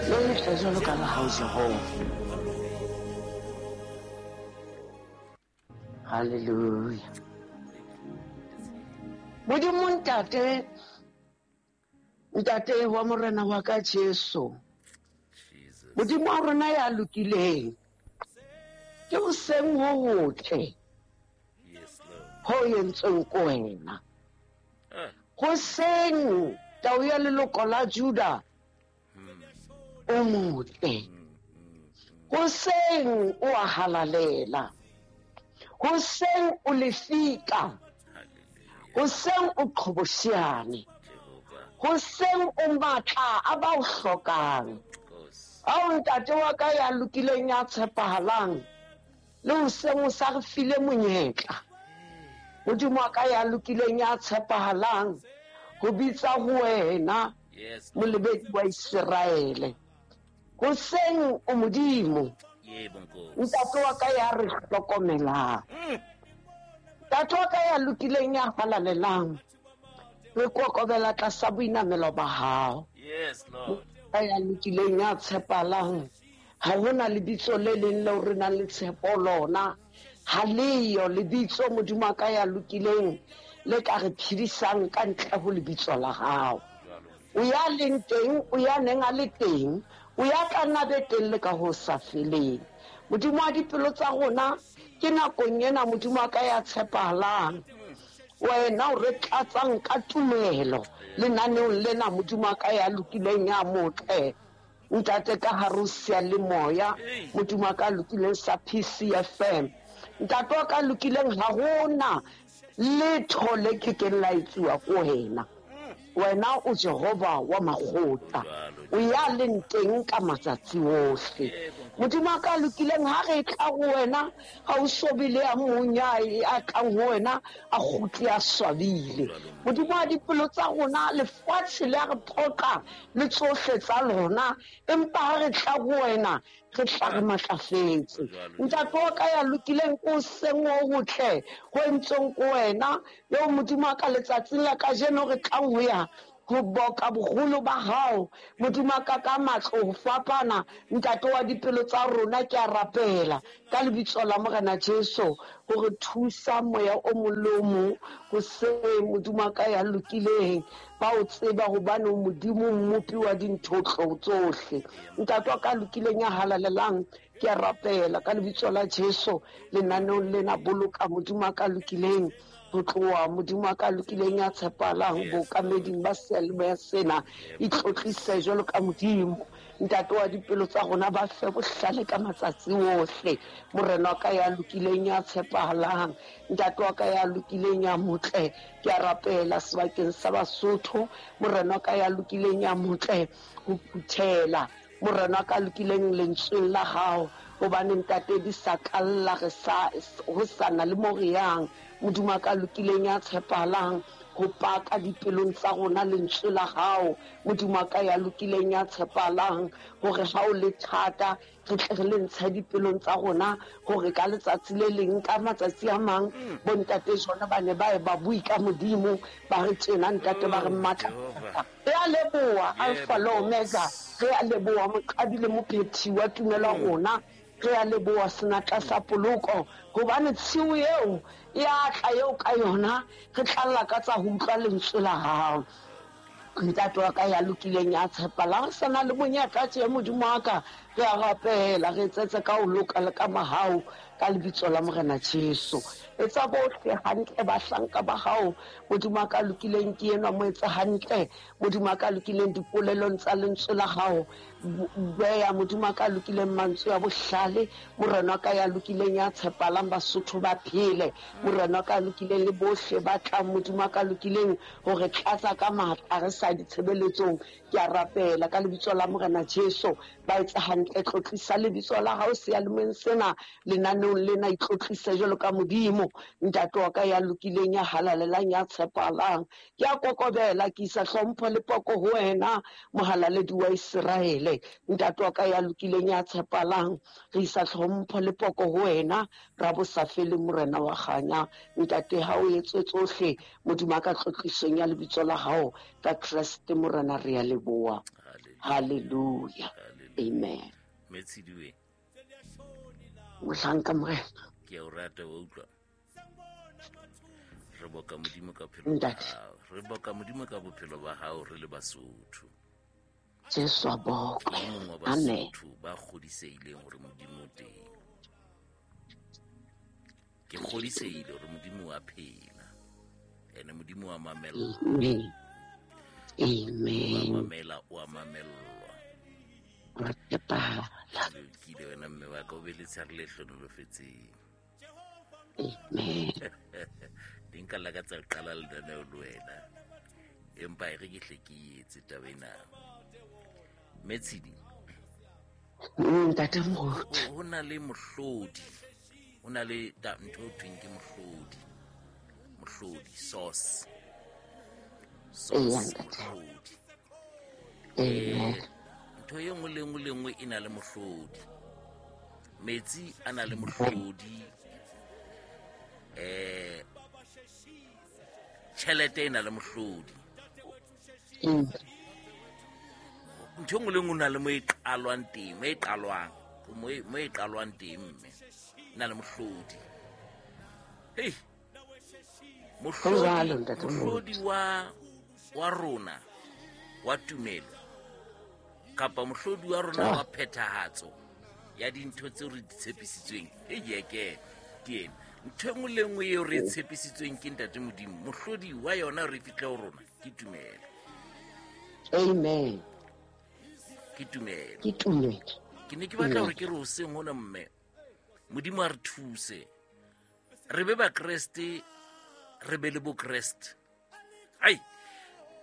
Le letle jwalo ka la hao, Jehova. Hallelujah. Modimo Ntate, Ntate wa Morena wa ka Jesu. Modimo wa rona ya lokileng. Ke hoseng ho hotle. Ho entsweng ko wena. Hoseng tau ya leloko la Juda o motle. Hoseng o a halalela. Hoseng o lefika. Hoseng o qhobosheane. Hoseng o matla a ba o hlokang. Ao ntate wa ka ya lokileng ya tshepahalang. Le hoseng o sa re file monyetla. Modimo wa ka ya lokileng ya tshepahalang ho bitsa ho wena molebedi wa Iseraele. Hoseng o Modimo. Ntate wa ka ya re hlokomelang. Ntate wa ka ya lokileng ya halalelang. Re kokobela tlasa boinamelo ba hao. Ka ya lokileng ya tshepalang. Ha hona lebitso le leng leo re nang le tshepo lona. Ha leyo lebitso Modimo wa ka ya lokileng le ka re phedisang ka ntle ho lebitso la hao. O ya leng teng, o ya neng a le teng, o ya tla nna be teng le ka ho sa feleng. Modimo wa dipelo tsa rona, ke nakong ena Modimo wa ka ya tshepahalang. Wena o re tlatsang ka tumelo lenaneong lena Modimo wa ka ya lokileng ya motle. Ntate ka hare ho seyalemoya, Modimo wa ka lokileng sa PCFM. Ntate wa ka lokileng ha hona letho le ke keng la etsuwa ko wena. Wena o Jehova wa makgotla, o ya leng teng ka matsatsi ohle. Modimo wa ka lokileng ha re tla ho wena, ha o so be le ya mong ya a tlang ho wena a kgutle a swabile. Modimo wa dipelo tsa rona, lefatshe le a re phoqa le tsohle tsa lona, empa ha re tla ho wena re tla re matlafetse. Ntate wa ka ya lokileng ko seng ho hotle ho entsweng ko wena, eo Modimo wa ka letsatsing la kajeno re tlang ho ya ho boka boholo ba hao. Modimo wa ka ka matlo ho fapana, ntate wa dipelo tsa rona, ke a rapela ka lebitso la Morena Jesu hore thusa moya o mong le o mong ho se Modimo wa ka ya lokileng ba o tseba hobane o Modimo mmopi wa dintho tsohle. Ntate wa ka lokileng ya halalelang, ke a rapela ka lebitso la Jesu lenaneong lena boloka Modimo wa ka lokileng ho tloha Modimo wa ka lokileng ya tshepahalang bookameding ba seyalemoya sena, itlotlise jwalo ka Modimo. Ntate wa dipelo tsa rona ba fe bohlale ka matsatsi ohle. Morena wa ka ya lokileng ya tshepahalang, ntate wa ka ya lokileng ya motle, ke a rapela sebakeng sa Basotho. Morena wa ka ya lokileng ya motle ho phuthela Morena wa ka lokileng lentsweng la hao, hobane ntate di sa kalla re sa ho sana le mo re yang. Modimo wa ka lokileng ya tshepahalang ho paka dipelong tsa rona lentswe la hao. Modimo wa ka ya lokileng ya tshepahalang hore ha o le thata re tle re le ntshe dipelong tsa rona, hore ka letsatsi le leng, ka matsatsi a mang, bontate jona ba ne ba e ba bui ka Modimo, ba re tjena ntate ba re mmatla. Re a leboha Alpha le Omega, re a leboha moqadi le mophethi wa tumelo ya rona, re a leboha senatla sa poloko, hobane tshiu eo e a tla eo ka yona re tla lakatsa ho utlwa lentswe la hao. Ntate wa ka ya lokileng ya tshepalang, re sa na le monyetla tje Modimo wa ka, re a rapela re etsetse ka ho loka le ka mahau ka lebitso la Morena Jesu. Etsa bohle hantle bahlanka ba hao Modimo wa ka lokileng, ke enwa mo etse hantle Modimo wa ka lokileng dipolelong tsa lentswe la hao. Beya Modimo wa ka lokileng mantswe a bohlale, Morena wa ka ya lokileng ya tshepalang, Basotho ba phele. Morena wa ka lokileng le bohle ba tlang Modimo wa ka lokileng hore tlatsa ka matla re sa ditshebeletsong. Ke a rapela ka lebitso la Morena Jesu, ba etse hantle, tlotlisa lebitso la hao seyalemoyeng sena, lenaneong lena, itlotlise jwalo ka Modimo. Ntate wa ka ya lokileng ya halalelang ya tshepahalang, ke a kokobela, ke isa hlompho le poko ho wena mohalaledi wa Iseraele. Ntate wa ka ya lokileng ya tshepahalang, re isa hlompho le poko ho wena ra bosafeleng Morena wa kganya. Ntate, ha o etse tsohle Modimo a ka tlotlisong ya lebitso la hao ka Kreste Morena, re a leboha. Hallelujah. Amen. Metshidiwe. Mohlanka Morena. Ke a o rata wa utlwa. Re boka Modimo ka bophelo ba hao. Re boka Modimo ka bophelo ba hao re le Basotho. Jesu a bokwe. Amen. Basotho ba kgodisehileng hore Modimo o teng. Ke kgodisehile hore Modimo wa phela. Ene Modimo wa mamella. Amen. Amen. Wa mamela, wa mamellwa. Wa tshepahala. Ke ile wena mme wa ka o be le tshare le hlonolofetseng. Amen. Di nka la ka tsa qala lenaneo le wena. Empa e re ke hle ke etse taba ena. Metshidi. Ntate Moruti. Ho na le mohlodi. Ho na le ntho e thweng ke mohlodi. Mohlodi, source. Source, mohlodi. Ntho e nngwe le nngwe le nngwe e na le mohlodi. Metsi a na le mohlodi. Tjhelete e na le mohlodi. Ntho e nngwe le nngwe na le mo e qalwang teng, mo e qalwang, mo e qalwang teng mme na le mohlodi. Hey. Mohlodi wa rona wa tumelo kapa mohlodi wa rona wa phethahatso ya dintho tseo re di tshepisitsweng. E ke ena. Ntho e nngwe le nngwe eo re tshepisitsweng ke Ntate Modimo, mohlodi wa yona re fihle ho rona ke tumelo. Amen. Ke tumelo. Ke tumelo. Ke ne ke batla hore ke re hoseng hona mme Modimo a re thuse. Re be ba Kreste, re be le bo Kreste. Ai,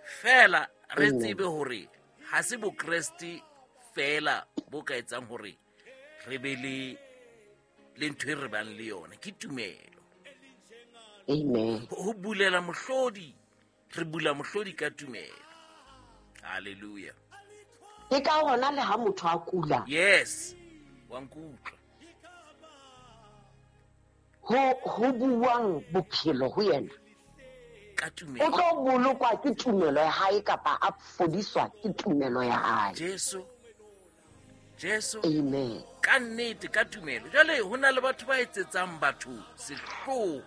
fela re tsebe hore ha se bo Kreste fela bo ka etsang hore re be le ntho e re bang le yona, ke tumelo. Amen. Ho bulela mohlodi, re bula mohlodi ka tumelo. Hallelujah. Ke ka hona le ha motho a kula. Yes. Wa nkutlwa. Ho buang bophelo ho yena. Ka tumelo. O tlo bolokwa ke tumelo ya hae kapa a fodiswa ke tumelo ya hae. Jesu. Jesu. Amen. Ka nnete ka tumelo. Jwale ho na le batho ba etsetsang batho sehloho.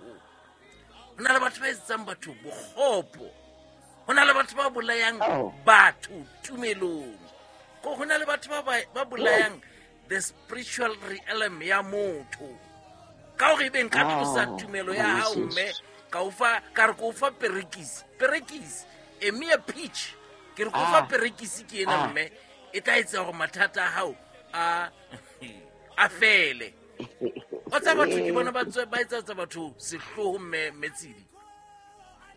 Ho na le batho ba etsetsang batho bokgopo. Ho na le batho ba bolayang batho tumelong. Ko ho na le batho ba bolayang the spiritual realm ya motho. Ka hore ebe nka tlosa tumelo ya hao mme ka o fa ka re ko fa perekisi. Perekisi e mere peach. Ke re ko fa perekisi ke ena mme e tla etsa hore mathata a hao a fele. O tsa batho ke bona ba etsa batho sehloho mme Metsidi.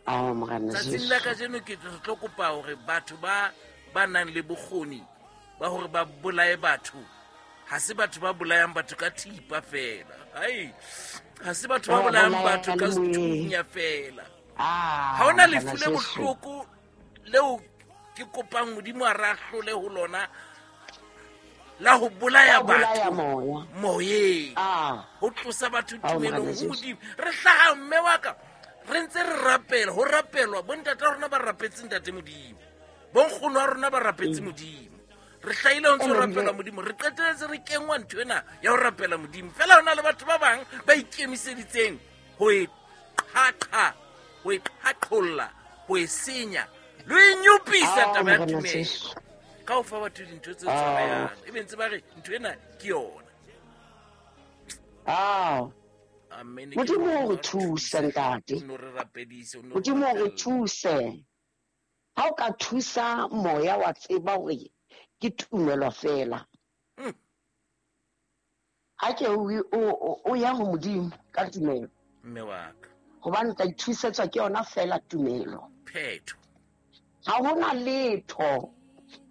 Tsatsing la kajeno ke tlo kopa hore batho ba nang le bokgoni ba hore ba bolaye batho. Ha se batho ba bolayang batho ka thipa fela. Ai, ha se batho ba bolayang batho ka sethunya fela. Ha hona lefu le bohloko leo ke kopang Modimo a re ahlole ho lona la ho bolaya batho moyeng. Ho tlosa batho tumelong ho Modimo. Re hlaha mme wa ka re ntse re rapela, ho rapelwa bontate rona ba rapetse Ntate Modimo. Bonkgono wa rona ba rapetse Modimo. Re hlahile ho ntse rapela Modimo, re qeteletse re kengwa ntho ena ya ho rapela Modimo. Fela hona le batho ba bang ba ikemiseditseng ho e qhaqha, ho e qhaqholla, ho e senya, le e nyopisa taba ya tumelo. Ka ho fa batho dintho tse tshwarehang, ebe ntse ba re ntho ena ke yona. Amen. Modimo o re thuse ntate. Modimo o re thuse. Ha o ka thusa moya wa tseba hore ke tumelo fela. Ha ke o ya ho Modimo ka tumelo. Mme wa ka. Hobane tla ithusetswa ke yona fela tumelo. Phetho. Ha hona letho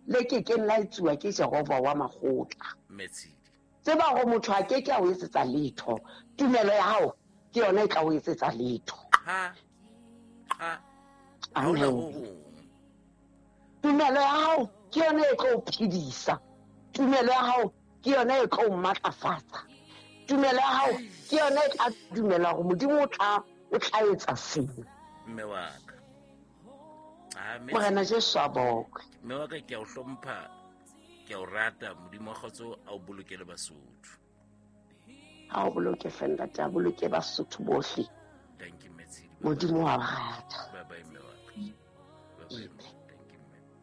le ke keng la etsuwa ke Jehova wa makgotla. Metsidi. Tseba hore motho a ke ke a o etsetsa letho. Tumelo ya hao ke yona e tla o etsetsa letho. Ha. Tumelo ya hao ke yona e tlo o phedisa. Tumelo ya hao ke yona e tlo o matlafatsa. Tumelo ya hao ke yona e tla dumela hore Modimo o tla etsa sengwe. Mme wa ka. Morena Jesu a bokwe. Mme wa ka ke a o hlompha. Ke a o rata. Modimo wa kgotso a o bolokele Basotho. A o boloke fela, a boloke Basotho bohle. Thank you, Metshidi. Modimo wa ba rata. Bye bye, mme wa ka. Bye bye.